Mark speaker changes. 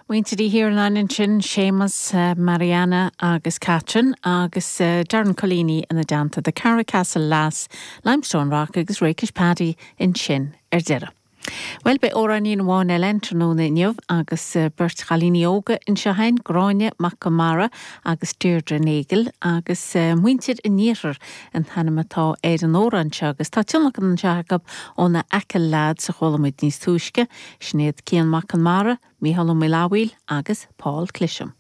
Speaker 1: Muintir Uí Thiarnáin ansin, Séamus, Marianna agus Catherine agus Darren Culleeny ina dteannta, The Carracastle Lass, Limestone Rock agus Rakish Paddy ansin ar deireadh. Bhuel, beidh amhráinín amháin eile againn tráthnóna inniu agus beirt chailíní óga anseo againn, Gráinne Mac Conmara agus Deirdre Nagle agus Muintir an Iarthair an t-ainm atá ar an amhrán seo agus tá tionlacan anseo acu ó na Achill Lads a chuala muid níos túisce, sin iad Cian Mac Conmara, Mícheál Ó Maolfabhail agus Paul Clisham.